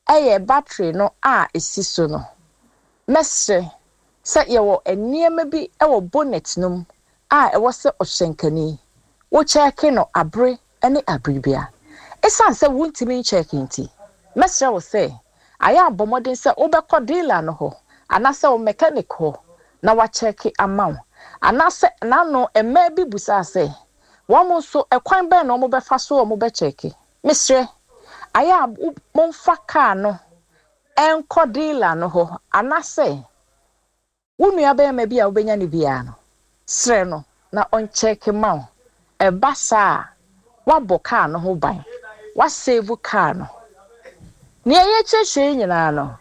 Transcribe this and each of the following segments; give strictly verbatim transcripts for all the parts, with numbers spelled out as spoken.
Ɛyɛ battery no a ɛsi so no. Mɛsrɛ sɛ yɛwɔ nneɛma bi wɔ bonnet no mu a ɛwɔ sɛ ɔhyɛnkani wokyɛɛke no abere ne abere bia. Ɛsiane sɛ wontumi nkyɛɛke nti, mɛsrɛ wo sɛ ayɛ abɔ mmɔden sɛ wobɛkɔ dealer no hɔ anaasɛ wo mechanic hɔ na wakyɛɛke ama wo. Anaasɛ n'ano mmaa bi busaa sɛ wɔn nso ɛkwan bɛn na wɔn bɛfa so wɔn bɛkyɛɛke. Mesrɛ, ayɛ a momfa kaa no ɛnkɔ dealer no hɔ anaasɛ wo nua bɛrima bi a wobɛnya no biara no, srɛ no na ɔnkyɛɛke ma wo. Ɛba saa a, woabɔ kaa no ho ban, woasave kaa no. Nea yɛkyerɛkyerɛ yi nyinaa no,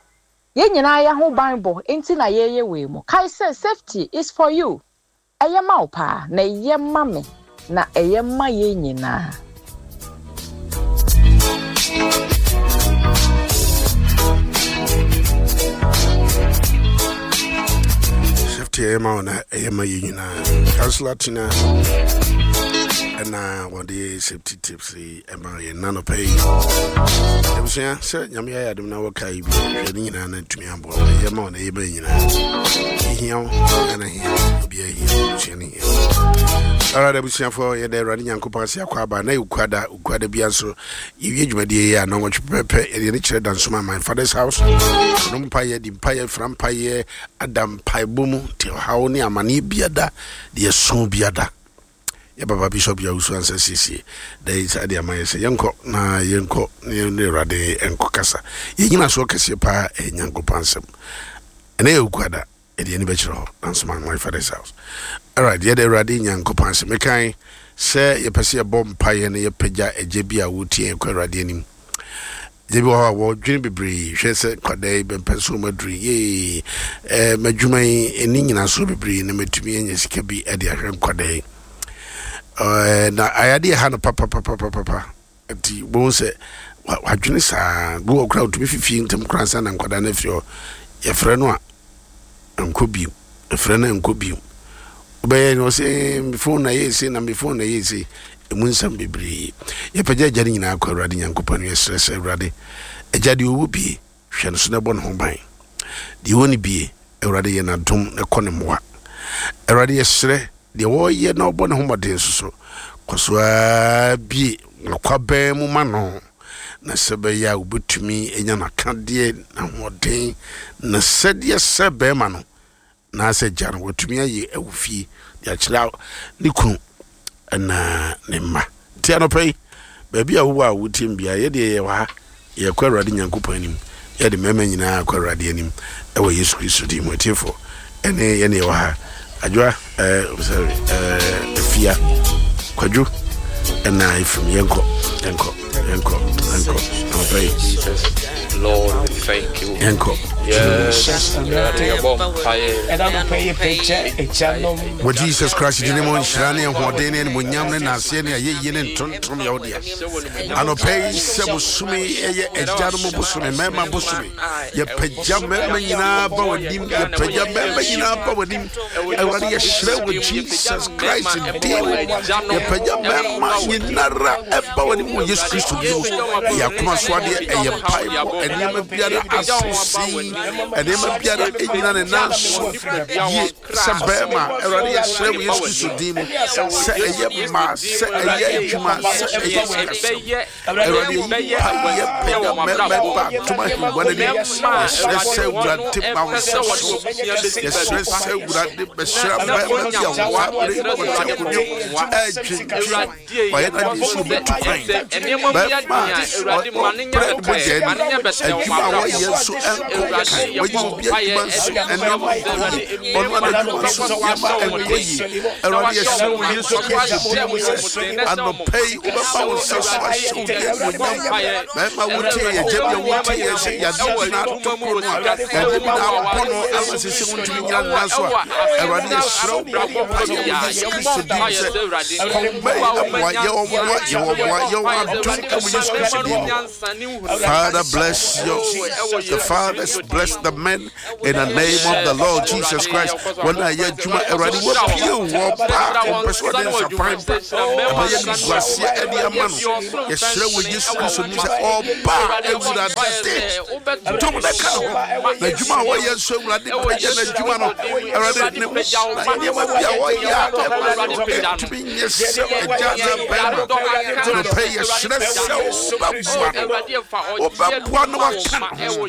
yɛn nyinaa yɛ ho ban bɔ nti na yɛyɛ wei mu. Kae sɛ safety is for you. Ɛyɛ ma wo paa na ɛyɛ ma me na ɛyɛ ma yɛn nyinaa. Safety ɛyɛ ma wo na ɛyɛ ma yɛn nyinaa. Councillor Tina ɛna wɔde safety tips yi ɛma yɛn nanɔpɛ yi. Abusua, sɛ Nyame ayɛ adom na wɔka yi bi hwɛ ne nyinaa na ntumi aboa wo. Ɛyɛ ma wo na ɛyɛ ma yɛn nyinaa. Ɛhia wo ɛna hia wo, obiara hia wo, abusua no hia wo. Alright, abusuafoɔ, yɛda Awurade Nyankopɔn ase akɔ aba na yɛkuada okuada bia nso yɛwie dwumadie yi a na wɔtwe pɛpɛpɛ yɛde ne kyerɛ Dansoma, my father's house no. Mpayɛ di mpayɛ fra mpayɛ ada mpaebɔ mu nti ɔhaw ne amanneɛ biada deɛ ɛso biada yɛ papa Bishop Yawusu ansa siesie da yi saa de ama yɛ sɛ yɛnkɔ na yɛnkɔ na yɛne Awurade nkɔ kasa. Yɛnyina soɔ kɛseɛ paa ɛyɛ Nyankopɔn asɛm. Ɛnɛ yɛ okuada, yɛde yɛni bɛkyerɛ hɔ Dansoma, my father's house. Alright, yɛde Awurade Nyankopɔn ase. Mekan sɛ yɛpɛ sɛ yɛbɔ mpayɛ na yɛpagya agya bi a wɔtie yɛn kɔ Awurade anim. Agya bi wɔ hɔ a wɔdwene bebree hwɛ sɛ nkwadaa yi bɛmpɛ so wɔn aduru yee ɛɛ m'adwuma yi ɛni nyinasoɔ bebree na matumi anya sika bi de ahwɛ nkwadaa yi ɛɛ na ayadeɛ ha no papapapapapa nti wɔn sɛ wadwene saa bi wɔ koraa otumi fifie ntɛm koraa nsa na nkwadaa no afiri hɔ. Yɛfrɛ no a nkɔ bio, yɛfrɛ no a nkɔ bio, wobɛyɛ no ɔsɛ me phone na yɛ ese na me phone na yɛ ese. Emu nsɛm bebree. Yɛpagya agya no nyinaa kɔ Awurade Nyankopɔn no. Yɛsrɛ sɛ Awurade, agya deɛ ɔwɔ bie, hwɛ no so na ɛbɔ ne ho ban. Deɛ ɔwɔ ne bie, Awurade yɛ n'adom na ɛkɔ ne mmoa. Awurade, yɛsrɛ deɛ wɔreyɛ na ɔbɔ ne ho mmɔden nso so kɔ so ara bie nakwabɛn mu ma no na sɛ bɛyɛ a wobɛtumi anya n'akadeɛ n'ahoɔden na sɛdeɛ sɛ bɛrima no naasɛ gya no watumi ayɛ ɛwɔ fie de akyerɛ ne kunu ɛna ne mma. Nti anɔpa yi, baabi a wowɔ a wotie m biara, yɛdeɛ yɛwɔ ha, yɛkɔ Awurade Nyankopɔn anim. Yɛde mmarima nyinaa kɔ Awurade anim ɛwɔ Yesu Kristo din mu. Atiefoɔ ɛne yɛne yɛwɔ ha, Adwoa, ɛɛ sorry, ɛɛ Afia, Kwadwo ɛna Efim. Yɛnkɔ, yɛnkɔ, yɛnkɔ, yɛnkɔ anɔpa yi. Lord, we thank you. Yɛnkɔ. Yes. Ɛda no pɛ yɛ pɛgya agyanom. Wɔ Jesus Christ din mu, nhyira ne ahoɔden ne animonyam ne naaseɛ ne ayɛyie ne ntontom yɛ wo dea anɔpa yi. Sɛ bosome ɛyɛ agyanom bosome, mmarima bosome, yɛpagya mmarima nyinaa ba w'anim, yɛpagya mmarima nyinaa ba w'anim. Awurade, yɛhyerɛ wɔ Jesus Christ din mu, yɛpagya mmarima nyinara ɛba w'anim wɔ Yesu Kristo din mu. Ɛyɛ akoma so adeɛ, ɛyɛ mpaebɔ. Nneɛma biara aso sei, nneɛma biara ɛnyina ne nan so yie sɛ bɛrima. Awurade, yɛsrɛ wɔ Yesu Kristo din mu sɛ ɛyɛ mmaa, sɛ ɛyɛ adwuma, sɛ ɛyɛ sikasɛm, Awurade, yɛyi pa yɛpagya mmarima ba atom ahengua no anim. Yɛsrɛ sɛ Awurade ma wo nsa so. Yɛsrɛ sɛ Awurade bɛhyira mmarima bi a wɔn abere wɔte akonnwa mu ɛredwendwen wɔyɛ no adeɛ sɛ wɔbɛtu kwan. Bɛrima ɔbrɛ ne mogya ani, adwuma a wɔyɛ nso ɛnkɔ kan, wɔyɛ obi adwuma nso nneɛma nkɔ yie, ɔno ara adwuma nso nneɛma ɛnkɔ yie. Awurade, yɛsrɛ wɔ Yesu Kristo din mu sɛ anɔpa yi wobɛma wo nsa so ahyɛ wo din animuonyam. Bɛrima wotie yɛ, gya bi a wotie yɛ sɛ yadeɛ bi na ato koro no a yadeɛ bi na abɔ no ama sɛ sɛ wontumi nyina ne nan so a, Awurade, yɛsrɛ wo, bɔ mpaeɛ wɔ Yesu Kristo din mu sɛ kɔmma yi mmoa yɛ wɔn, mmoa yɛ wɔn, mmoa yɛ wɔn adom wɔ Yesu Kristo din mu. Father, bless Bless your the fathers, bless the men in the name of the Lord Jesus Christ. Wɔn a yɛ adwuma, Awurade, wɔpie wɔ ba ɔmpɛ sɛ ɔde nsapan ba ɛbɛyɛ niguaseɛ ɛde ama no. Yɛsrɛ wɔ Yesu Kristo nim sɛ ɔba, Awurade, dom na ka ne ho na adwuma a wɔyɛ nso, Awurade, pagya n'adwuma no. Awurade, ne nneɛma bi a wɔyɛ a ɛma no ɛntumi nyɛ sɛ agya na bɛrima nɔpɛ, yɛsrɛ sɛ wobɛboa no, wobɛboa no, waka ne ho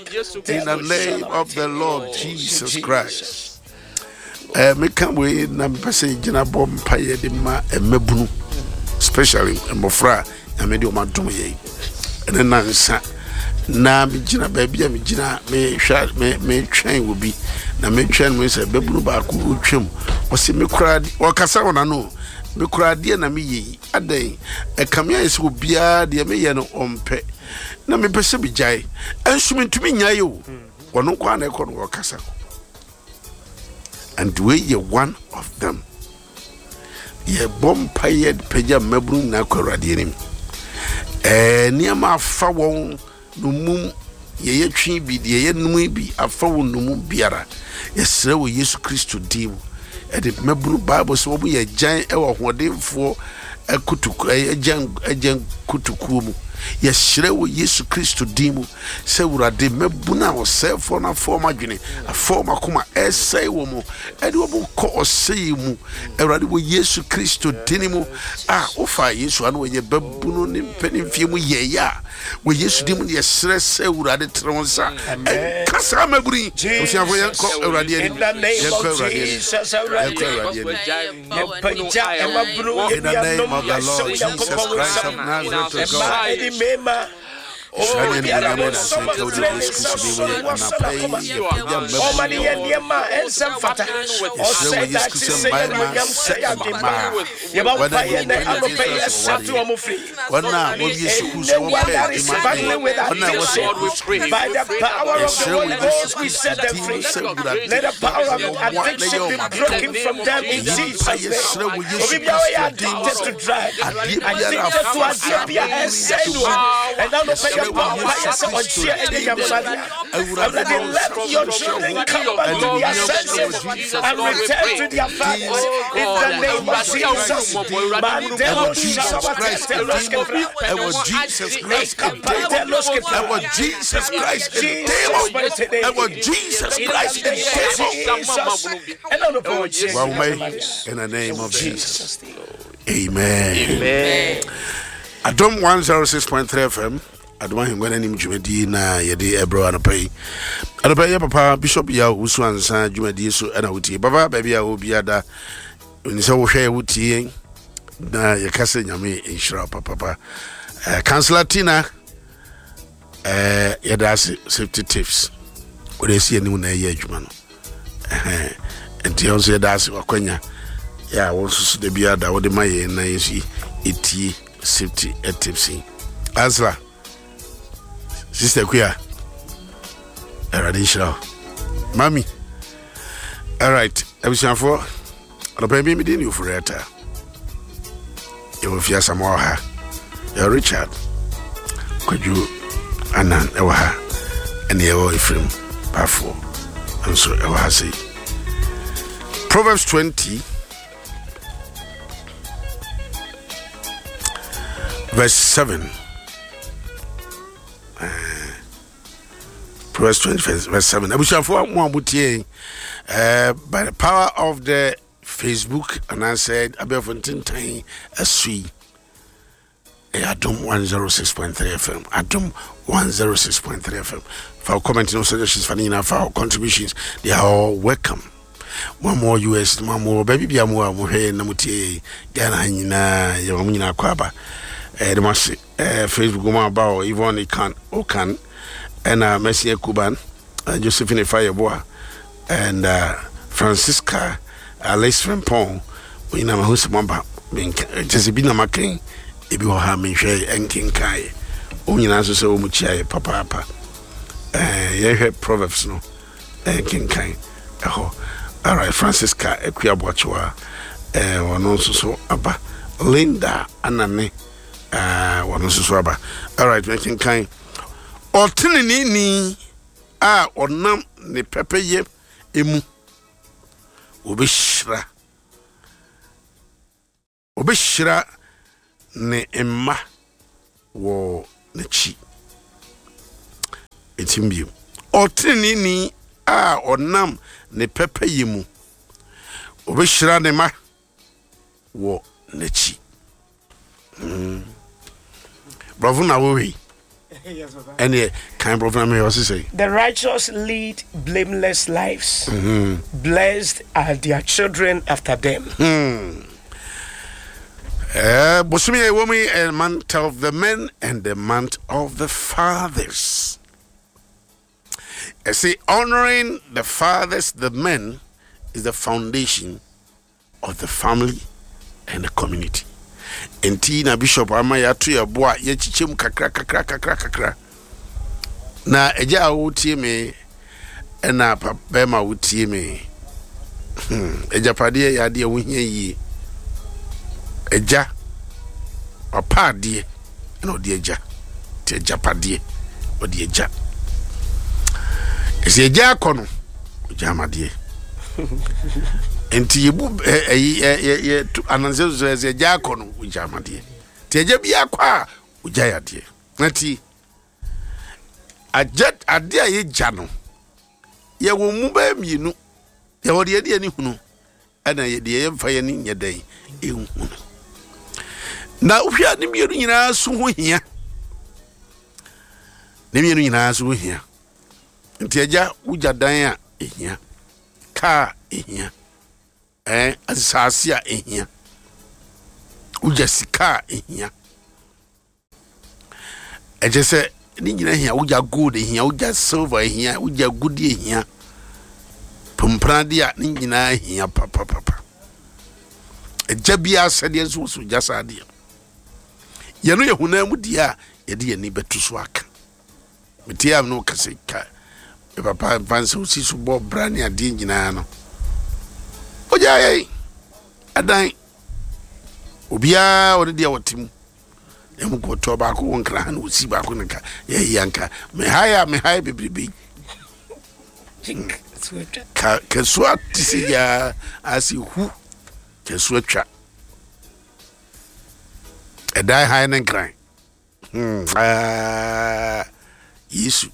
in the name of the Lord Jesus Christ. Eh, meka wei na mepɛ sɛ gyina bɔ mpayɛ de ma mmabunu, especially mmɔfra a Nyame de ɔma dom yɛn ɛne nansa na megyina baabi a megyina mehwɛ, metwɛn wɔ bi na metwɛn no sɛ bɛbunu baako ɔtwam, ɔsɛ mekora ɔkasa wɔ n'ano, mekora adeɛ na meyɛ yi adɛn, ɛkame ayɛ sɛ obiara deɛ meyɛ no ɔmpɛ na mepɛ sɛ megyae, ɛnso mentumi nnyae o. Ɔno nko a na ɛkɔ no wɔkasa, and wei yɛ one of them. Yɛbɔ mpayɛ pagya mmabunu nyinaa kɔ Awurade anim. Ɛɛ nneɛma afa wɔn nomum, yɛyɛ twe bi deɛ yɛyɛ num bi afa wɔn nomum biara, yɛsrɛ wɔ Yesu Kristo din mu. Ɛde mmabunu, Bible sɛ wɔn yɛ gyan ɛwɔ ahoɔdenfoɔ ɛkotoku, ɛyɛ gyan, ɛgyan kotokuo mu. Yɛsrɛ wɔ Yesu Kristo din mu sɛ Awurade, mmabunu a ɔsɛefoɔ no afɔ wɔn adwene, afɔ wɔn akoma, ɛsɛe wɔn mu, ɛde wɔn kɔ ɔsɛe mu, Awurade, wɔ Yesu Kristo din mu a wofa Yesu ano wɔyɛ babunu ne mpanimfie mu yɛyɛ a, wɔ Yesu din mu no, yɛsrɛ sɛ Awurade tere wo nsa ɛnka saa mmabunu yi. Abusuafo, yɛnkɔ Awurade anim, yɛnkɔ Awurade anim, yɛnkɔ Awurade anim. In the name of the Lord Jesus Christ of Nazareth, O God. Hyira ne animuonyam ne nase nka wo de Yesu Kristo din mu yɛ anapa yi yɛpagya Ɔma ne yɛ mmabunu. Nneɛma a ɛnsɛ mfata. Yɛsrɛ wɔ Ɔsɛe Yesu daakye Kristo sɛ mmarima yɛnuonyam sɛ sɛ ade mmaa pa. Yɛbɔ wɔn a mpaeɛ wɔdi nɛ mpanyinfoɔ anɔpa yi sɛ ɛsɛte wɔwareɛ, wɔn firi. wɔn a wɔwie sukuu sɛ wɔpɛ Anyone that is adwuma battling with yɛ, wɔn a wɔsɛ addiction, kɔ sukuu, by the power of the yɛsrɛ Holy wɔ Yesu Ghost, we Kristo set them din mu free. sɛ Awurade Let the power of wɔmmoa na yɛ addiction be wɔn adom. broken from them in Yi mpa Jesus' name. yɛsrɛ wɔ Yesu Obi biara yɛ Kristo din mu addicted to sɛ drug, adeɛ biara addicted to afa adeɛ saa bi a ɛsɛe no. Ɛna anɔpa yɛsrɛ yɛbɔ wɔ mpaeɛ Yesu sɛ Kristo ɔgyeɛ ɛnyɛ din mu sɛ nyamsadeɛ. Awurade Awurade, ma wo let nsa your so hyɛ children wɔn come back to their animuonyam hyɛ senses wɔ Jesus and return to their din fathers in the name of ɛwɔ Jesus. Jesus din mu, Mandelo ɛwɔ Jesus Christ din mu, ɛwɔ Jesus Christ din mu, ɛwɔ Jesus Christ din Jesus mu, mighty name. ɛwɔ Jesus Christ din mu. Jesus. Ɛna anɔpa ɔgyeɛ Wawoma yi, in the name of Jesus, amen. Amen. Adom one oh six point three F M, Adom Ahengua no anim dwumadie na yɛde ɛbrɛ anɔpa yi. Anɔpa yi yɛ papa Bishop Yɛ Wusu Ansa dwumadie so ɛna wotie. Papa, baabi a wɔbia da ɛni sɛ wohwɛ yɛ, wotie yɛn na yɛka sɛ Nyame nhyira wo papapa. uh, Councillor Tina, uh, yɛda ase. Safety tips wode asi anim na ɛyɛ adwuma no. Ɛhɛn. Nti ɛho nso yɛda ase, wakwanya yɛ a wɔn nso so da biara da wode ma yɛn na yɛn nso yɛtie safety tips yi. Councillor Sister Kuya, Awurade nhyira wo mami. Alright, abusuafoɔ, anɔpa bi mede ne Ofori-Atta, yɛwɔ Fiasama wɔ ha, yɛwɔ Richard Kwadwo Anan ɛwɔ ha, ɛne yɛwɔ Efrem Bafoɔ nso ɛwɔ ha sei. Proverbs twenty verse seven. uh, Proverbs twenty verse seven. Abusuafoɔ, mo a motie uh, by the power of the Facebook anaasɛ abɛɛfo ntentan aso yi, ɛyɛ Adom one oh six point three F M, Adom one oh six point three F M. Fa wo comment no, suggestions, fa ne nyinaa, fa wo contributions, they are all welcome. Mo a mowɔ U S, mo a mowɔ baabi bia mo a mohwɛ yɛn na motie yɛn Ghana ha nyinaa, yɛma mo nyinaa kɔ aba. Ɛde mo ase. eh, Facebook mo aba hɔ, Yvonne Ikan Okan, ɛna Mercy Akuban, uh, Josephine Fayeboa and uh, Francisca Alice Frempong, mo nyinaa mahu sɛ moaba. Kyɛ sɛ bi na makan ebi wɔ ha menhwɛ ɛnkenkaeɛ. Wɔn nyinaa nso sɛ wɔn mu kyia yɛ papaapa. eh, yɛhwɛ Proverbs no ɛnkenkan ɛhɔ. Alright, Francisca Akua Boakyewa, eh, ɔno nso so aba. Linda Anane, eh, ɔno nso so aba. Alright, mɛkenkan. Ɔteneneeni a ɔnam ne pɛpɛyɛ emu, obɛhyira obɛhyira ne mma wɔ n'akyi. Ɛtim bio, ɔteneneeni a ɔnam ne pɛpɛyɛ mu, obɛhyira ne mma wɔ n'akyi. Mm. Brɔfo na wɔwei. Yes, Papa. Ɛneɛ kan brɔfo na mehwɛ ɔse sɛ The righteous lead blameless lives. Blessed are their children after them. Eh, bosome a ɛwɔ mu yi, a month of the men and the month of the fathers. I say honoring the fathers, the men, is the foundation of the family and the community. Nti na Bishop ama yɛato yɛ bo a yɛkyekyɛ mu kakra kakra kakra kakra. Na agya a wotie me, ɛna pa bɛrima a wotie me, hmm, agyapadeɛ yɛ adeɛ a wohia yie. Agya wapa adeɛ ɛna ɔde agya, nti agyapadeɛ ɔde agya. Ɛsɛ agya akɔ no, ɔgya amadeɛ. Nti yɛbu ɛ- ɛyi ɛ- yɛ yɛ tu anansɛ so ɛsɛ agya akɔ no, ɔgya amadeɛ. Nti agya bi akɔ a, ɔgya yɛ adeɛ. Na ti agya adeɛ a yɛgya no, yɛwɔ mu bɛyɛ mmienu. Yɛwɔ deɛ yɛde ani hunu, ɛna yɛ deɛ yɛmfa yɛn ani nyɛ dɛn ɛnhunu. Na wohwɛ a, ne mmienu nyinaa so ho hia, ne mmienu nyinaa so ho hia. Nti agya wogya dan a ɛhia, kaa ɛhia, ɛn asase a ɛhia, wogya sika a ɛhia. Ɛkyɛ sɛ ne nyinaa hia. Wogya gold ɛhia, wogya silver ɛhia, wogya gudi ɛhia, pomprade a ne nyinaa hia papapapa. Agya biara sɛdeɛ nso wɔ so gya saa adeɛ yɛno yɛ honam mu deɛ a yɛde yɛn ani bɛto so aka. Metie a, no kasa ka me papa mfa nsɛ osi so bɔ bra ne adeɛ nyinaa no, ogya yɛn adan, obiara ɔne deɛ wɔte mu. Ɛmu kɔtɔ baako wɔ Nkra ha na osi baako ne nka yɛyɛ anka mehae a mehae bebrebe ka kasuo te sɛ yaa ase hu kasuo atwa ɛdan hae ne Nkran. Hmm, ah, Yesu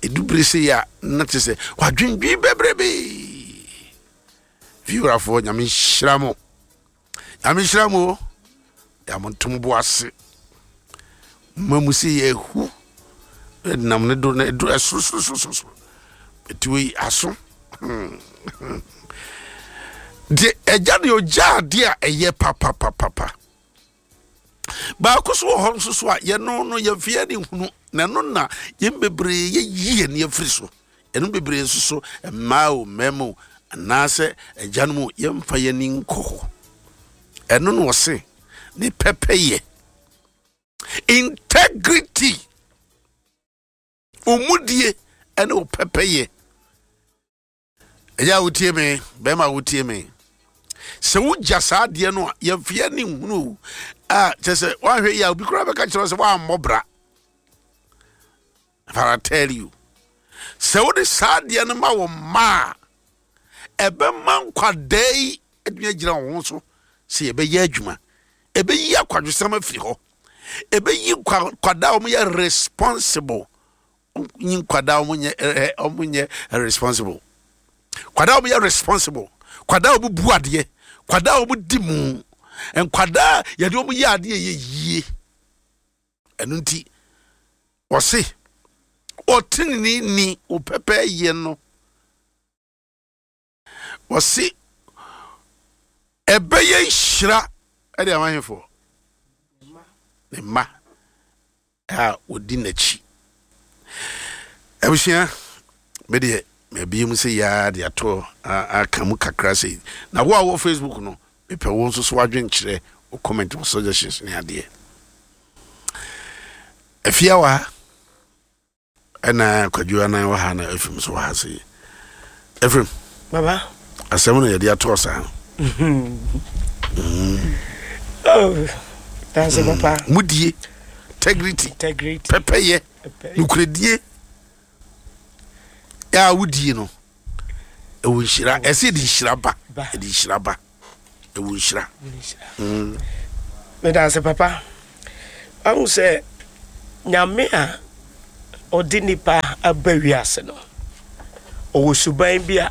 ɛdubere sɛ yi a na te sɛ wadwendwen bebrebe. Fiwurafoɔ, Nyame nhyira mo, Nyame nhyira mo o. Yɛamontom bo ase ma mu sɛ yɛhu nam ne do na ɛdu ɛsorosorosoro ɛti wei aso. Hmm. Deɛ agya deɛ ɔgya adeɛ a ɛyɛ papapapapa baako so wɔ hɔ nso so a yɛno no yɛmfe ne hunu na ɛno na yɛn bebree yɛyi yɛn afiri so. Ɛno bebree nso so, mmaa o, mmarima o, anaasɛ agyanom o, yɛmfa yɛn ani nkɔ hɔ. Ɛno na ɔse ne pɛpɛyɛ, integrity, omudie ɛne wo pɛpɛyɛ. Ɛyɛ a wotie me, bɛrima a wotie me, sɛ wogya saa adeɛ no a yɛmfe yɛn ani nhunu o, a kyerɛ sɛ woahwɛ yi a, obi koraa bɛka kyerɛ wo sɛ woammɔ bra. But I tell you, sɛ wode saa adeɛ no ma wo mma a, ɛbɛma nkwadaa yi atumi agyina wɔn ho so sɛ yɛbɛyɛ adwuma. Ɛbɛyi akwadwosɛm afiri hɔ, ɛbɛyi nkwa- nkwadaa a wɔyɛ responsible, nyi nkwadaa a wɔnyɛ ɛ ɛ wɔnyɛ responsible, nkwadaa a wɔyɛ responsible, nkwadaa a wɔbu adeɛ, nkwadaa a wɔdi mu, nkwadaa a yɛde wɔn yɛ adeɛ yɛ yie. Ɛno nti wɔse ɔtenene ni wo pɛpɛ yɛ no, wɔse ɛbɛyɛ nhyira ɛde ama ahemfo ne mma a wɔdi n'akyi. Abusua, medeɛ mabie mu sɛ yaa de ato aka mu kakra sɛ na wo a wɔ Facebook no, mepɛ wo nso so wadwenkyerɛ, wo comment, wo suggestions ne adeɛ. Afia wɔ ha, ɛna Kwadwo anan wɔ ha, na Efrim nso wɔ ha. Sɛ Efrim. Baba. Asɛm no yɛde atoɔ saa. Oh, that's mm. Papa. Mudie, integrity. Integrity. Pɛpɛyɛ. Nokoredie a wodie no ɛwɔ nhyira, ɛsɛ ɛde nhyira ba, ɛde nhyira ba, ɛwɔ nhyira. Meda ase, papa. Ahu sɛ Nyame a ɔde nipa aba wiase no, ɔwɔ suban bi a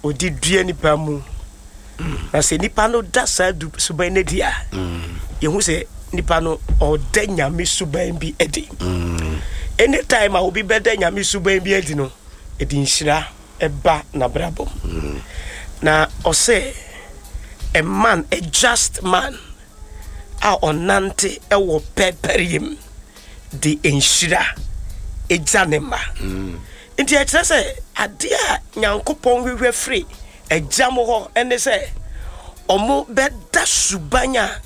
ɔde dua nipa mu, na sɛ nipa no da saa suban no adi a, yɛhu sɛ nipa no ɔda Nyame suban bi adi. Anytime a obi bɛda Nyame suban bi adi no, ɛde nhyira ɛba n'abrabɔ mu. Na ɔsɛ a man, a just man a ɔnante ɛwɔ pɛpɛreyɛ mu de nhyira egya ne mma. Nti ɛkyerɛ sɛ adeɛ a Nyankopɔn hwehwɛ firi agya mo hɔ ɛne sɛ ɔmo bɛda suban a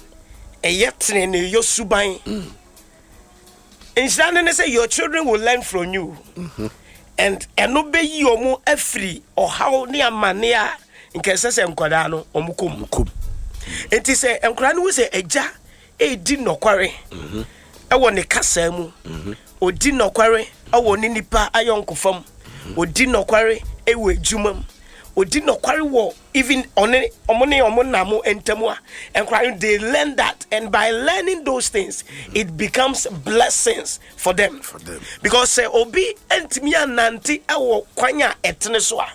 ɛyɛ teneneyɔ suban. Nhyira no ne sɛ your children will learn from you and ɛno bɛyi ɔmo afiri ɔhaw ne amane a nka ɛsɛ sɛ nkwadaa no ɔmo kɔ mu. Kom. Nti sɛ nkwadaa no hu sɛ agya ɛredi nɔkware ɛwɔ ne kasa mu, ɔdi nɔkware ɛwɔ ne nipa ayɔnkofa mu, ɔdi nɔkware ɛwɔ adwuma mu, ɔdi nɔkware wɔ even ɔne ɔmo ne ɔmo nam ntam a, nkwadaa no, they learn that, and by learning those things it becomes blessings for them. For them. Because sɛ obi ntumi anante ɛwɔ kwan a ɛtene so a,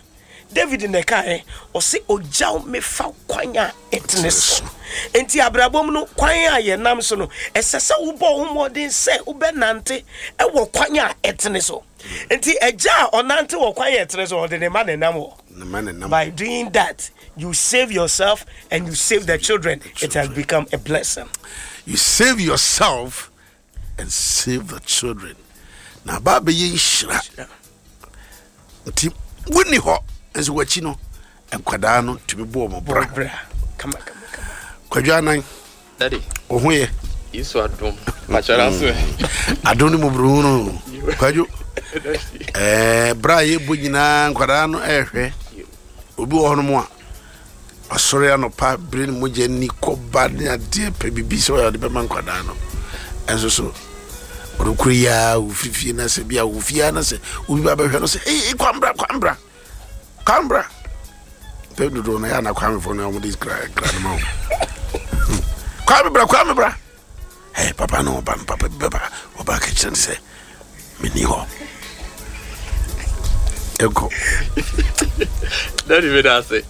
David na ɛkaeɛ, ɔse ogyaw mefa kwan a ɛtene so. Nti abrabɔ mu no, kwan a yɛnam so no, ɛsɛ sɛ wobɔ wo mmɔden sɛ wobɛnante ɛwɔ kwan a ɛtene so. Nti agya a ɔnante wɔ kwan a ɛtene so, ɔde ne ma ne nam hɔ. Ne ma ne nam. By doing that, you save yourself and you save the children. It has become a blessing. You save yourself and save the children. Na ba bɛyɛ nhyira. Nti wonni hɔ nso w'akyi no, nkwadaa no tumi bɔ ɔmo bra. Bra. Kama kama kama. Kwadwo Anan. Daddy. Wo ho yɛ? Yesu adom. Pakyɛra so. Adom ne mmɔborɔhu no, Kwadwo. Ɛɛ, berɛ a yɛbɔ nyinaa nkwadaa no ɛrehwɛ. Obi wɔ hɔnom a ɔsɔre anɔpa bere ne mogya ni kɔba ne adeɛ pɛ biribi sɛ ɔyɛ ɔde bɛma nkwadaa no, ɛnso so ɔno kuro yi a wofiri fie na sɛ bi a wofie a na sɛ obi ba bɛhwɛ no sɛ, "Ee, Kwambra, Kwambra, Kwambra," pɛ dodoɔ no yɛ ana Kwamefoɔ no a wɔde kra kra no ma wo, "Kwame bra, Kwame bra." Hey, papa no ɔba no, papa bi bɛba, ɔba ka kyerɛ no sɛ menni hɔ, ɛkɔ. Daddy, me da ase.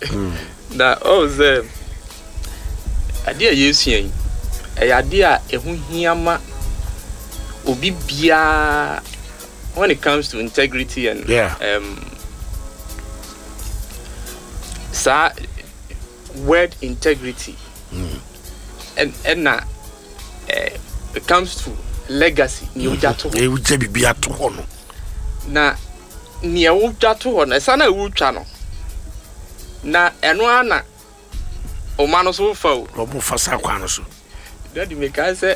Na ɔwɔ sɛ adeɛ a yɛsua yi, ɛyɛ adeɛ a ɛho hia ma obi biara when it comes to integrity and Yeah. um, saa word integrity ɛn ɛna eh, it comes to legacy, nea wogya to hɔ. Wogya biribi ato hɔ no. Na nea wogya to hɔ no, ɛsa na wotwa no na ɛno ara na ɔma no so wofa o. Ɔmo fa saa kwan no so. Daddy, mekae sɛ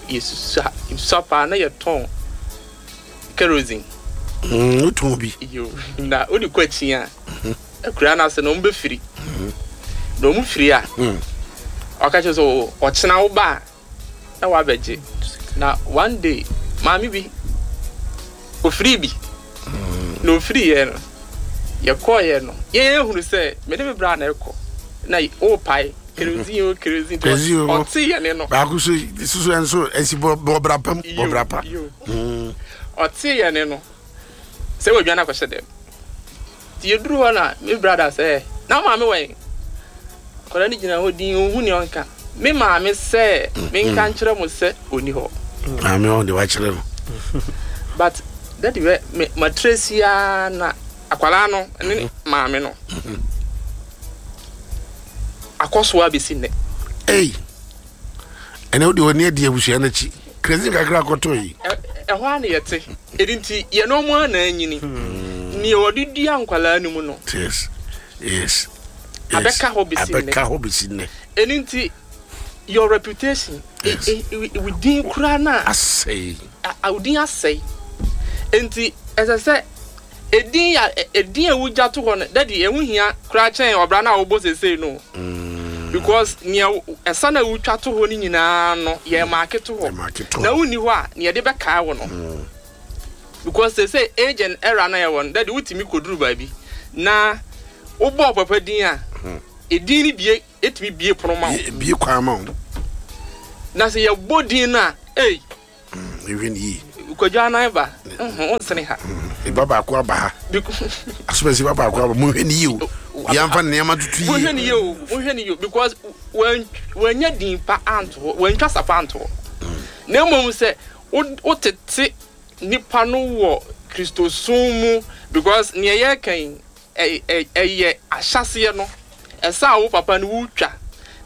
yɛsusua yɛsusua paa na yɛtɔn kerosene. Mm, wotɔn bi? Yo, na wode kɔ akyi a, akura no ase no, ɔmo bɛfiri na ɔmo firi a, ɔka kyerɛ sɛ "O, ɔkyena wo ba a na wabɛgye." Na one day maame bi ofiri bi na ofiri yɛ no, yɛkɔɔyɛ no, yɛn ehunu sɛ mede me bra na ɛkɔ na ɔrepae kerosene o, kerosene. Kerosene o. Ɔte yɛ ne no. Baako so soso nso ɛsi bɔ bɔbra pam bɔbra pa. Yo. Mm. Ɔte yɛ ne no sɛ wadwane akɔhyɛ dɛm. Nti yɛduru hɔ na me brother sɛ, "Na maame wɛn?" Akwadaa no gyina hɔ din, ɔnhu nea ɔnka. Me maame sɛ menka nkyerɛ mo sɛ ɔni hɔ. Maame ɔn de wakyerɛ no. But daddy, bɛ me matresi ara na akwadaa no ne maame no akɔ so abɛsi nnɛ. Ei, ɛnɛ wode w'ani adi abusua no akyi, kerosene kakra akɔtɔ yi. Ɛ- ɛhɔ a na yɛte ɛdi nti yɛne ɔmo a na anyini nea wɔde dua nkwalaa no mu no yes yes yes. Abɛka hɔ bɛsi nnɛ. Abɛka hɔ bɛsi nnɛ. Ɛno nti your reputation, Yes. e- e- e- wo din koraa no a asɛe. a- wo din asɛe. Nti ɛsɛ sɛ edin a ɛ- edin a wogya to hɔ no, daddy, ɛho hia koraa kyɛn ɔbra no a wobɔ seesei no. Because nea ɛsa na wotwa to hɔ no nyinaa no, yɛ maake to hɔ. Na wonni hɔ a, nea yɛde bɛkae wo no. Because they say age and era na yɛwɔ no, daddy, wotumi kɔduru baabi na wobɔɔ papa din a, edin no bie, etumi bie pono ma wo. Bie kwan ma wo. Na sɛ yɛbɔ din no a, ei. Ehwɛ ne yie. Kwadwo anan ba, wonsene ha. Eba baako aba ha. Asomasi ba baako aba, monhwɛ ne yie o. Yɛmfa nneɛma tutu yie. Monhwɛ ne yie o, monhwɛ ne yie o, because wɔanya din pa anto hɔ, wɔantwa sapa anto hɔ. Na mmom sɛ wotete nipa no wɔ Kristosom mu, because nea yɛreka yi, ɛyɛ ahyɛaseɛ no, ɛsɛ a wo papa no wotwa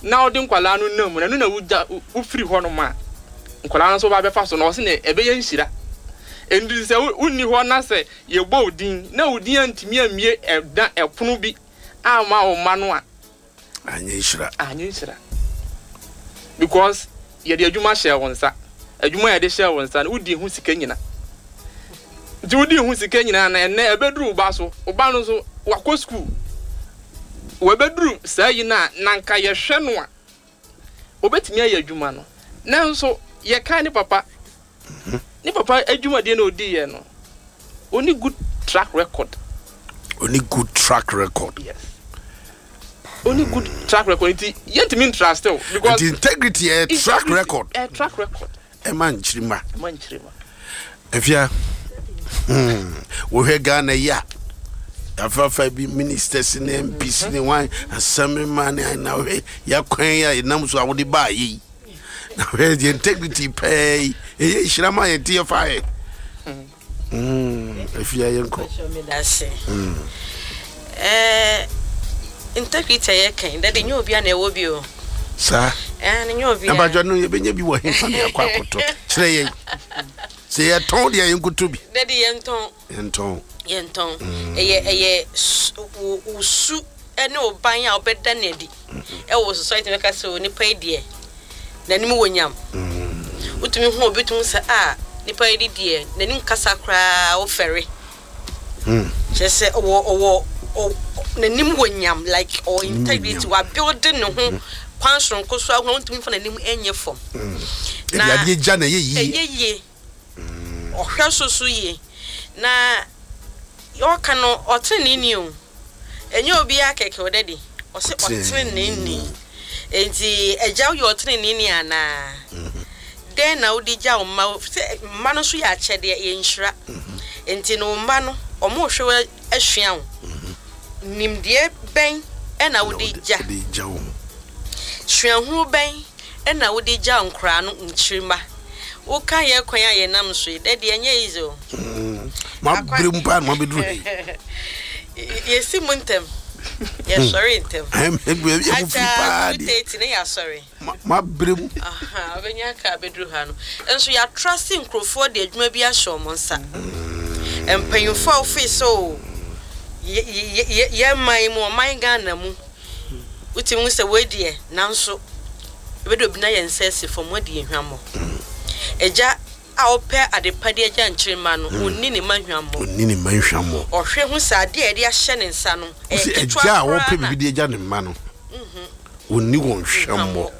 na wode nkwadaa no nam mu, na ɛno na wogya wofiri hɔnom a, nkwadaa no nso ba bɛfa so, na ɔse ne ɛbɛyɛ nhyira. Enti sɛ wonni hɔ na sɛ yɛbɔ wo din na wo din antumi ammie ɛda ɛpono bi amma wo mma no a, anyɛ nhyira. Anyɛ nhyira. Because yɛde adwuma hyɛɛ wo nsa. Adwuma a yɛde hyɛɛ wo nsa no, wodi ho sika nyina. Nti wodi ho sika nyinaa na ɛnnɛ ɛbɛduru wo ba so. Wo ba no nso, wakɔ sukuu. Wabɛduru saa yi no a, na nka yɛhwɛ no a, obɛtumi ayɛ adwuma no. Nanso, yɛka ne papa. Ne papa adwumadeɛ na odiiɛ no, ɔni good track record. Ɔni good track record. Yes. Ɔni good track record nti yɛntumi ntrust o. Because nti integrity yɛ track record. Ɛ track record. Ɛma nkyirima. Ɛma nkyirima. Efia, wohwɛ Ghana yi a, afafa bi ministers ne M Ps ne wan assemblyman ne na wohwɛ yakwan yi a yɛnam so a wode baa yi. Na wohwɛ yɛ integrity pɛɛ yi, ɛyɛ nhyira ma yɛn ti yɛfa yɛ. Efia, yɛnkɔ. Eh, integrity a yɛka daddy, nyɛ obia na ɛwɔ bi o. Saa. Eh, nyɛ obia. Abadwa no yɛbɛnya bi wɔ hefa ne akɔ akɔtɔ? Kyerɛ yɛn. Sɛ yɛtɔn deɛ, yɛnkoto bi. Daddy, yɛntɔn. Yɛntɔn. Yɛntɔn. Ɛyɛ ɛyɛ wo wo su ne wo ban a wobɛda no adi ɛwɔ society, bɛka sɛ o, nipa yi deɛ, n'anim wɔ nyam. Wotumi hu obi, tumi sɛ a, nipa yi deɛ, n'anim kasa koraa wofɛre. Kyerɛ sɛ ɔwɔ ɔwɔ n'anim wɔ nyam, like ɔwɔ integrity, wabuild ne ho kwan soronko so ahoɔ, wontumi fa n'anim ɛnyɛ fam. Na adeɛ gya na ɛyɛ yie. Ɛyɛ yie. Ɔhwɛ so so yie. Na ɔka no, ɔtenenee o, ɛnyɛ obiara kɛkɛ o, daddy. Ɔsɛ ɔtenenee. Nti agya, woyɛ ɔtenenee anaa? Dɛn na wode gya wo mma? Sɛ mma no nso yɛ akyɛdeɛ, yɛ nhyira. Nti no wo mma no, ɔmo hwɛ wo asua wo. Nimdeɛ bɛn ɛna wode gya? Suahunu bɛn ɛna wode gya nkoraa no, nkyirima? Woka yɛ kwan a yɛnam so yi, daddy, ɛnyɛ easy o. Mabere mu paa na mabɛduru ha yi. Yɛsi mu ntɛm, yɛsɔre ntɛm. Akyɛ two thirty ne yɛasɔre. Mabere mu. Wobɛnya kaa bɛduru ha no nso, yɛatrase nkurɔfoɔ de adwuma bi ahyɛ ɔmo nsa. Mpanyinfoɔ a wofii sɛ o, yɛ man mu, ɔman Ghana mu, wotumi hu sɛ wei deɛ, nanso ebɛde obi na yɛn nsa asi fam, wɔde yɛ hwammɔ. Agya a ɔpɛ adepa de agya nkyirima no, onni ne ma hwammɔ. Onni ne ma hwammɔ. Ɔhwɛ hu sɛ adeɛ a yɛde ahyɛ ne nsa no ɛyɛ ketewa. Agya a wɔpɛ biribi de agya ne mma no, onni wɔn hwammɔ.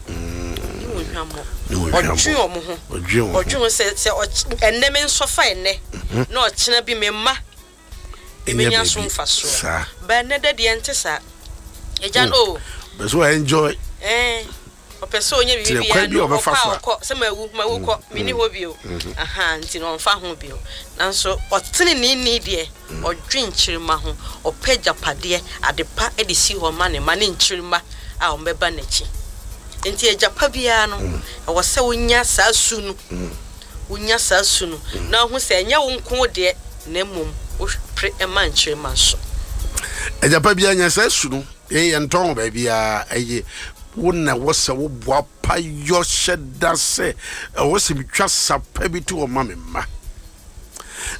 Onni wɔn hwammɔ. Ɔdwe wɔn ho. Ɔdwe ho sɛ sɛ ɛnnɛ me nsɔfa ɛnnɛ na ɔkyena bi me mma ebenya so mfasoɔ. Ba ɛnnɛ dɛ deɛ, nte saa. Agya no o. Bɛ so enjoy. Ɛɛ, ɔpɛ sɛ ɔnyɛ biribi biara no, ɔkɔ a ɔkɔ sɛ mawu, mawu kɔ, menni hɔ bio. Aha, nti no ɔmfa ho bio. Nanso ɔteneneeni deɛ, ɔdwe nkyirima ho, ɔpɛ agyapadeɛ adepa de si hɔ ma ne ma ne nkyirima a wɔbɛba n'akyi. Nti agyapa biara no, ɛwɔ sɛ wonya saa su no, wonya saa su no na wohu sɛ ɛnyɛ wo nko deɛ, na mmom wopere ma nkyirima nso. Agyapa biara nya saa su no. Yɛn yɛntɔn wɔ baabiara. Ɛyɛ wo na ɛwɔ sɛ woboa pa yɔ hyɛ da sɛ ɛwɔ sɛ metwa sapa bi to wɔ ma me mma.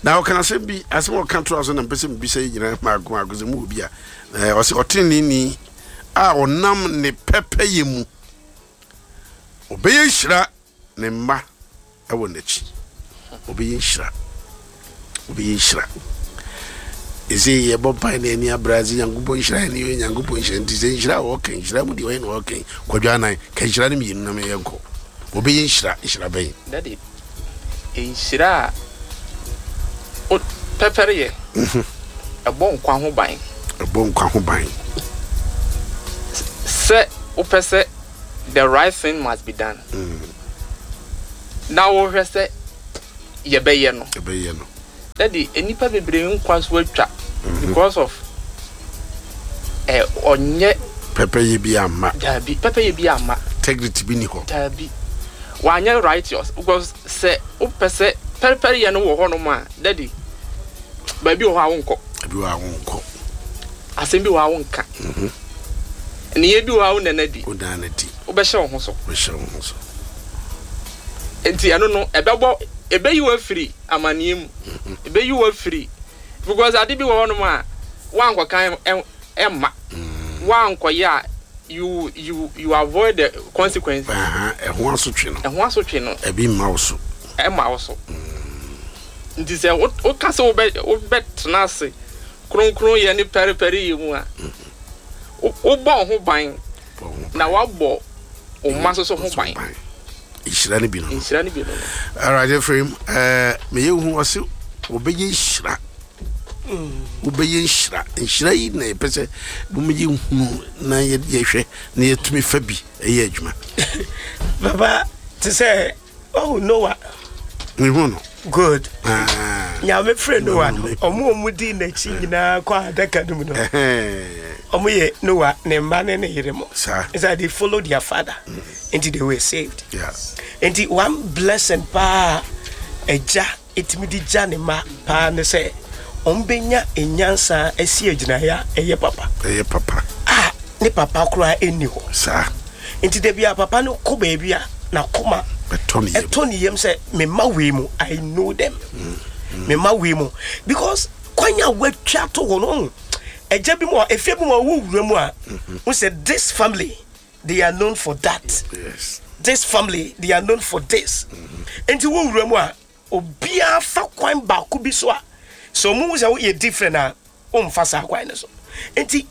Na ɔka asɛm bi, asɛm a ɔka to so na mpɛ sɛ mebisa yi nyinaa maako maako sɛ mowɔ bi a. Ɔsɛ ɔteneneeni a ɔnam ne pɛpɛyɛ mu, ɔbɛyɛ nhyira, ne mma ɛwɔ n'akyi. Ɔbɛyɛ nhyira, ɔbɛyɛ nhyira. Ɛsɛ yɛbɔ mpae na ani abra sɛ Nyankopɔn nhyira ne yɛ Nyankopɔn nhyira. Nti sɛ nhyira a wɔka, nhyira mu deɛ ɔyɛ na wɔka Kwadwo Anan ka nhyira no mmienu na meyɛnkɔ. Wɔbɛyɛ nhyira, nhyira bɛn? Daddy, nhyira a o pɛpɛrɛ yɛ ɛbɔ nkwa ho ban. Ɛbɔ nkwa ho ban. Sɛ wopɛ sɛ the right thing must be done na wohwɛ sɛ yɛbɛyɛ no. Ɛbɛyɛ no. Daddy, nnipa bebree nkwa so atwa because of ɛ ɔnyɛ pɛpɛyɛ bi amma. Daabi, pɛpɛyɛ bi amma. Integrity bi ni hɔ. Daabi, wanyɛ righteous, because sɛ wopɛ sɛ pɛrepɛreyɛ no wɔ hɔnom a, Daddy, baabi wɔ hɔ a wonkɔ. Ebi wɔ a wonkɔ. Asɛm bi wɔ hɔ a wonka, nneyɛɛ bi wɔ hɔ a wonna no adi. Wodaa no adi. Wobɛhyɛ wo ho so. Wobɛhyɛ wo ho so. Nti ɛno no ɛbɛbɔ, ɛbɛyi wo afiri amanneɛ mu, ɛbɛyi wo afiri, because ade bi wɔ hɔnom a woankɔka ɛ- ɛmma woankɔyɛ a, you you you avoid the consequence. Aha, ɛho asotwe no. Ɛho asotwe no. Ɛbi mma wo so. Ɛma wo so. Nti sɛ wo- woka sɛ wobɛ wobɛtena ase kronkron yɛ ne pɛrepɛre yɛ mu a, wo- wobɔ wo ho ban. Bɔ wo ho na woabɔ wo mma nso so ho ban. Nhyira no bi no no. Nhyira no bi no no. Alright, Ephraim, ɛɛ meyɛ hu ɔse wɔbɛyɛ nhyira, wobɛyɛ nhyira. Nhyira yi na yɛpɛ sɛ momyɛ hunu na yɛ- yɛhwɛ na yɛtumi fa bi ɛyɛ adwuma. Papa, te sɛ ɔhu Noah. Mehu no. Good. Ah. Nyame frɛ Noah no, ɔmo a ɔmo di n'akyi nyinaa kɔ adaka no mu no, Ɛhɛn. ɔmo yɛ Noah ne mma ne ne yere mo. Saa. It's they followed their father nti they were saved. Yeah. Nti one blessing paa agya ɛtumi de gya ne ma paa ne sɛ ɔmo bɛnya nyansa asi agyinaeɛ a ɛyɛ papa. Ɛyɛ papa. A ne papa koraa ɛnni hɔ. Saa. Nti da bi a papa no kɔ baabi a, n'akoma ɛtɔ ne yam. Ɛtɔ ne yam sɛ mema wei mu, I know them, mema wei mu, because kwan a watwa to hɔ no, ɔhu agya bi mu a, efie bi mu a ɔwɔ wura mu a wo sɛ this family, they are known for that. Yes this family, they are known for this. Nti wo wura mu a, obiara fa kwan baako bi so a, sɛ ɔmo hu sɛ woyɛ different a, womfa saa kwan no so. Nti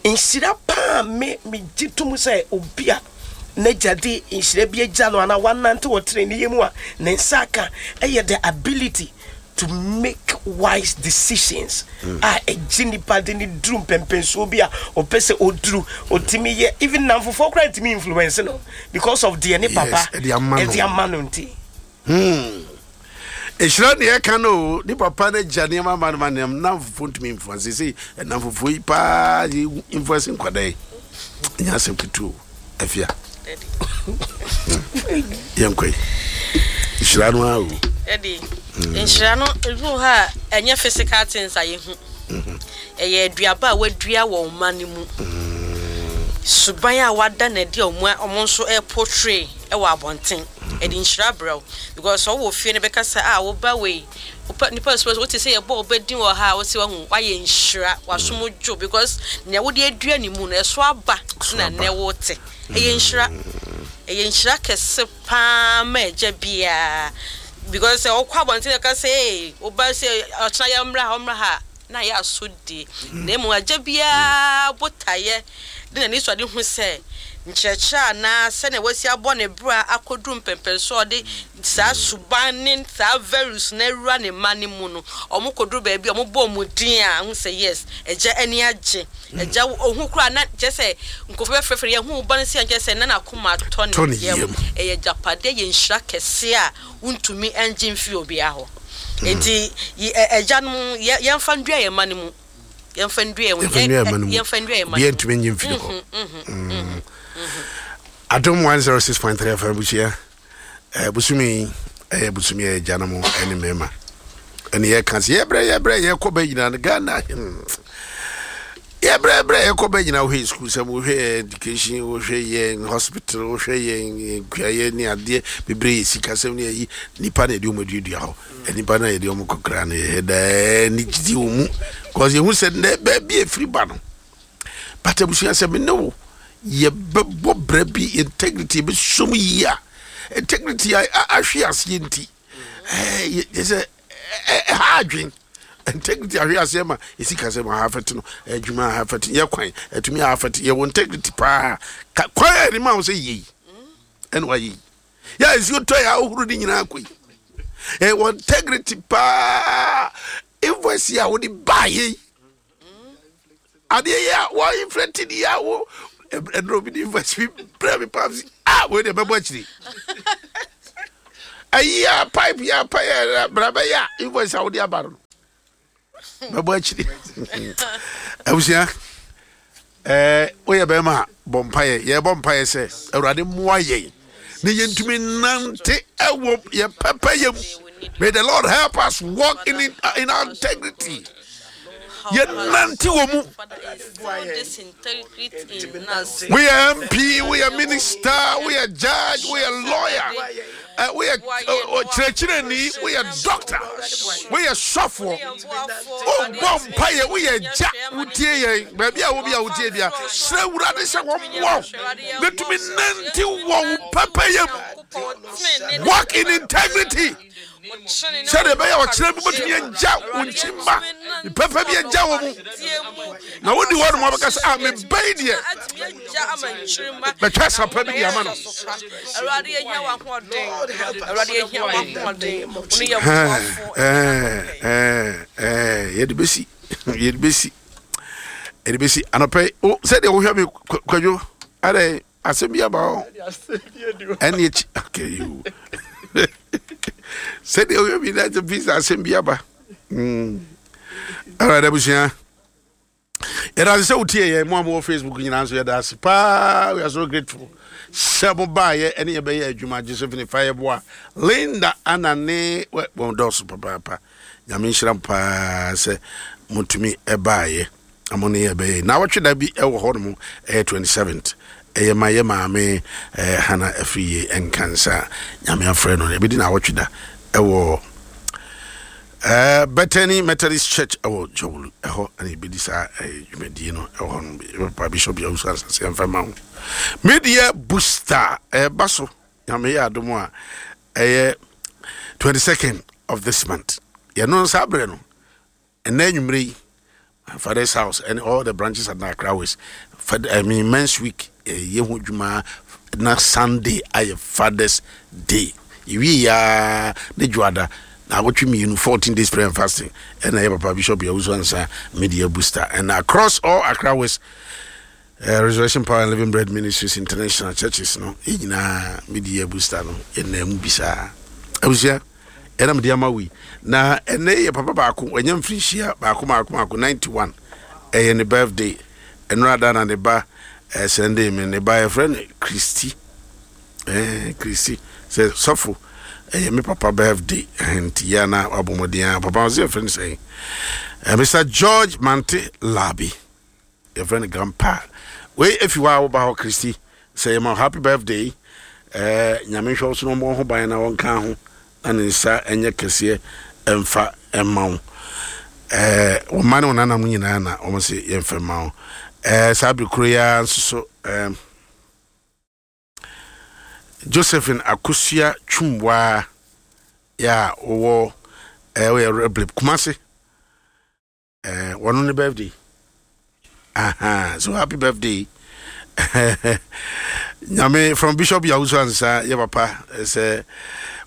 nhyira paa me megye tom sɛ obi a n'agya de nhyira bi agya no anaa wanante wɔ teneneyɛ mu a ne nsa aka ɛyɛ the ability to make wise decisions a ɛgye nipa de ne duru mpɛmpɛnsuo bi a ɔpɛ sɛ ɔduru. Ɔtumi yɛ, even namfofoɔ koraa ntumi influence no because of deɛ ne papa Yes, ɛde ama no. Ɛde ama no nti. Ɛhyira ne yɛka no o. Ne papa no agya nneɛma ma no ma nneɛma namfofoɔ ntumi influence. Sɛ namfofoɔ yi paa yɛ influence nkwadaa yi, ɛnyɛ asɛm ketewa o. Afia, yɛnkɔ yi, nhyira no ara o. Daddy, nhyira no ebi wɔ hɔ a ɛnyɛ physical things a yɛhu. Ɛyɛ aduaba a wadua wɔ ɔma no mu, suban a wada n'adi a ɔmo ɔmo nso ɛportray ɛwɔ abɔnten. Ɛde nhyira brɛ wo because sɛ ɔwɔ fie no, bɛka sɛ a woba wei wopa nipa sɛ wote sɛ yɛbɔ ɔba din wɔ ha a, wote wahu wayɛ nhyira, wasom dwo, because nea wode adua ne mu no ɛso aba. Ɛso na aba. Nnɛ wote ɛyɛ nhyira, ɛyɛ nhyira kɛse paa ma agya biara, because sɛ ɔkɔ abɔnten ɛka sɛ ee woba sɛ ɔkyena yɛ mmra ha, ɔmmra ha na yɛ aso die. Na emu agya biara botaeɛ de n'ani so ade hu sɛ nkyerɛkyerɛ anaa sɛnea wasi abɔ ne bra akɔduru mpɛmpɛnso a ɔde saa suban ne saa values na awura ne mma ne mu no, ɔmo kɔduru baabi a ɔmo bɔ ɔmo din a, ɔho sɛ yes, agya ani agye. Agya ohu koraa na kyerɛ sɛ nkurɔfoɔ bɛfrɛfrɛ yɛn hu ba no si a, kyerɛ sɛ na n'akoma atɔ Tɔ ne ne yam. Yam. Ɛyɛ agyapadeɛ, yɛ nhyira kɛse a wontumi ngye mfiri obiara hɔ. Nti yi- ɛ- agya no yɛ- yɛmfa ndua yɛn mma no mu, yɛmfa ndua yɛn Yɛmfa nnua ɛma no mu. Yɛmfa ndua yɛn mma Obiara no mu. ntumi nye mfiri hɔ. Adom one oh six point three F M busua, eh, busumi yi ɛyɛ busumi a ɛgya no mo ɛne mmarima ɛne yɛka sɛ yɛbrɛ yɛbrɛ yɛkɔ bɛ nyinaa no Ghana, hmm. Yɛbrɛ brɛ yɛkɔ bɛ nyinaa, wohwɛ yɛ school sɛm, wohwɛ yɛ education, wohwɛ yɛn hospital, wohwɛ yɛn yɛn kuayɛ ne adeɛ bebree, yɛ sikasɛm ne ayi nipa na yɛde wɔn aduadua hɔ. Nipa na yɛde wɔn kɔkora no, yɛhɛ daa ne gyidi wɔ mu cause yɛhu sɛ nnɛ baabi efiri ba no. But abusua, sɛ me ne wo yɛbɛbɔ brɛ bi, integrity yɛbɛsom yie a, integrity a a- ahwe aseɛ nti ɛɛ yɛ yɛ sɛ ɛ- ɛha adwen. Integrity ahwe aseɛ ma ɛsi ka sɛ ma ha afɛte no, adwuma ha afɛte, yɛ kwan atumi ha afɛte. Yɛwɔ integrity paa. Ka kwan a yɛde ma wo sɛ yei ɛna wayɛ yi, yɛ nsuo tɔ yɛ ahohoro ne nyinaa kɔ yi. Ɛwɔ integrity paa. Invoice yi a wode baa yɛ yi, adeɛ yi a wɔn inflate ni a wo ɛduro bi de invoice bi brɛ mi paa si ah, wei deɛ bɛbɔ akyiri. Ayi a pipe yi a pipe yɛ bra bɛyɛ a invoice a wode aba no bɛbɔ akyiri. Abusua, ɛɛ woyɛ bɛrima a, bɔ mpaeɛ. Yɛbɔ mpaeɛ sɛ Awurade mmoa yɛn ne yɛntumi nante ɛwɔ yɛ pɛpɛ yɛ mu. May the Lord help us walk in, in our integrity. Yɛnante wɔ mu. Woyɛ M P, woyɛ minister, woyɛ judge, woyɛ lawyer, uh, woyɛ ɔkyerɛkyerɛni, woyɛ doctor, woyɛ sɔfoɔ, wobɔ mpayɛ, woyɛ gya, wotie yɛn baabi a wobi a wotie bia, srɛ Wurade sɛ wɔmmoa wo na tumi nante wɔ wo pɛpɛyɛ mu. Walk in integrity sɛdeɛ ɛbɛyɛ ɔkyerɛ bi bɛtumi agya wo nkyimma pɛpɛ bi agya wɔ mu na wodi hɔ nom wabɛka sɛ, ah, mebɛyi deɛ bɛtwa sapa bi de ama no. Awurade, yɛhia w'ahoɔden. Awurade, yɛhia w'ahoɔden. Wo ne yɛ boafo. Yɛde bɛsi, yɛde bɛsi, yɛde bɛsi anɔpɛ yi. Wo- sɛdeɛ wohwɛ me, Kwa- kwadwo adɛ asɛm bi aba hɔ ɛne akyi. Okay, you sɛdeɛ wohwɛ me na sɛ pisa asɛm bi aba. Mm. Alright, abusua, yɛda ase sɛ wotie yɛn. Mo a mowɔ Facebook nyinaa nso, yɛda ase paa. We are so grateful sɛ mobaayɛ ɛne yɛbɛyɛ adwuma. Josephine Fayɛboa, Linda ana ne wɛ- wɔn dɔɔso papaapa. Nyame nhyira mo paa sɛ motumi ɛbaayɛ na mo ne yɛbɛyɛ. Na wɔtwe da bi ɛwɔ hɔ nom, ɛyɛ twenty-seventh, ɛyɛ ma yɛ maame ɛɛ Hana afiri yie Nkansa. Nyame afrɛ no, ɛbɛdi na awɔtwe da ɛwɔ ɛɛ Bethany Methodist Church ɛwɔ Jɔwulu ɛhɔ, ɛna ebedi saa ɛɛ dwumadie no ɛwɔ hɔ no. Papa Bishop Yawusu Asase ɛnfɛ ma ho media booster ɛɛba so. Nyame yɛ adom a, ɛyɛ twenty second of this month. Yɛno saa berɛ no, ɛnɛ anwummerɛ yi, my father's house and all the branches at Accra West, Fed, I mean, Men's Week ɛyɛ ho dwuma na Sunday ayɛ Father's Day. Yɛwie yaa ne dwoada na awɔtwe mmienu, fourteen days prayer and fasting, ɛna yɛ papa Bishop Yawusu Ansa media booster, and across all Accra West uh, Resurrection Power and Living Bread Ministries International churches no, yɛn nyinaa media booster no yɛnam mu bi saa. Abusua, ɛna mede ama wei na ɛnɛ yɛ papa baako ɛnyɛ mfirinhyia baako baako baako ninety-one, ɛyɛ ne birthday. Ɛnora da na ne ba ɛsɛnde me ne ba, yɛfrɛ no Christy, ɛɛ Christy sɛ sɔfo, ɛyɛ me papa birthday, ɛhɛn nti yɛ na wabɔ mmɔden a papa ɔsɛ yɛfrɛ no sɛn, ɛɛ Mister George Mante Labi, yɛfrɛ no Grandpa. Wei efi hɔ a woba hɔ, Christy, sɛ yɛma wo happy birthday. ɛɛ nyame nhwɛ wo so na ɔmmɔ ho ban na wɔnka ho na ne nsa ɛnyɛ kɛseɛ ɛmfa ɛma wo. ɛɛ wɔn mma ne wɔn nanam nyinaa na wɔn sɛ yɛmfɛ ma wo. ɛɛ saa bere koro yi ara nso so, ɛɛm Josephine Akosua Twumwaa yɛ a wɔwɔ ɛɛ wɔyɛ Reblip Kumase, ɛɛ wɔn ne birthday. Aha, so happy birthday nyame from Bishop Yawusu Ansa, yɛ papa sɛ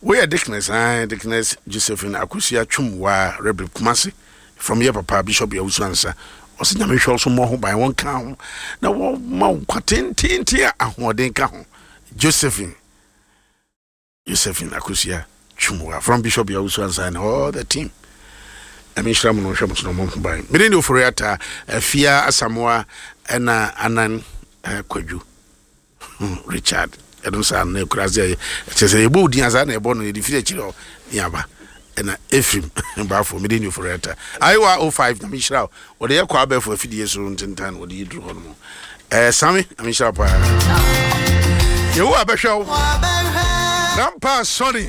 woyɛ Deaconess, ah, Deaconess Josephine Akosua Twumwaa, Reblip Kumase, from yɛ papa Bishop Yawusu Ansa. Ɔsɛ Nyame hwɛ wo so, mmɔ ho ban, wɔnka ho na wɔma wo nkwa tententen a ahoɔden ka ho. Josephine Josephine Akosua Twumwaa from Bishop Yawusu Ansa and all the team, ɛme nhyira mo no, hwɛ mo so na ɔmmɔ ho ban. Mede ne Ofori Ata Afia Asamoa ɛna Anan eh, Kwadwo Hmm, Richard ɛno saa no na ɛkura sɛ ɛkyɛ sɛ yɛbɔ wo din a saa na ɛbɔ no, yɛde firi akyirɛ hɔ ne aba. Ɛna Efrim baafo, mede ne Ofori Ata ayewa oh five. Na menhyira wo, wɔde yɛ kɔ abɛɛfo afidie so ntentan, wɔde yɛ duru hɔ no mu. ɛɛ same na menhyira wo paa. Yehowa bɛhwɛ wo. Grandpa Sonny,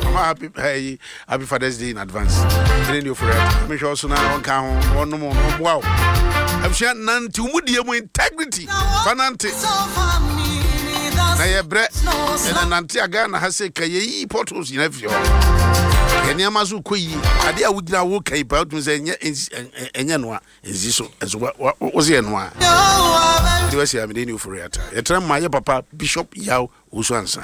mama happy, hey, happy Father's Day in advance. Mede ne Ofori Ata, mehwɛ wo so na wɔnka ho na wɔnom na wɔmmoa wo. Abusua, nante wo mu die mu integrity fa nante na yɛbrɛ ɛna nante a Ghana ha sɛ ka yɛyi potholes nyina firi hɔ. Yɛ nneɛma so kɔ yie. Adeɛ a wogyina wo ka yi paa, wotumi sɛ ɛnyɛ ɛnsi- ɛ- ɛ- ɛnyɛ noa ɛnsi so, ɛnso wa- wa- wo sɛ yɛ noa de wasi amede ne ofori ata. Yɛtena ma yɛ papa Bishop Yaw Owusu Ansa.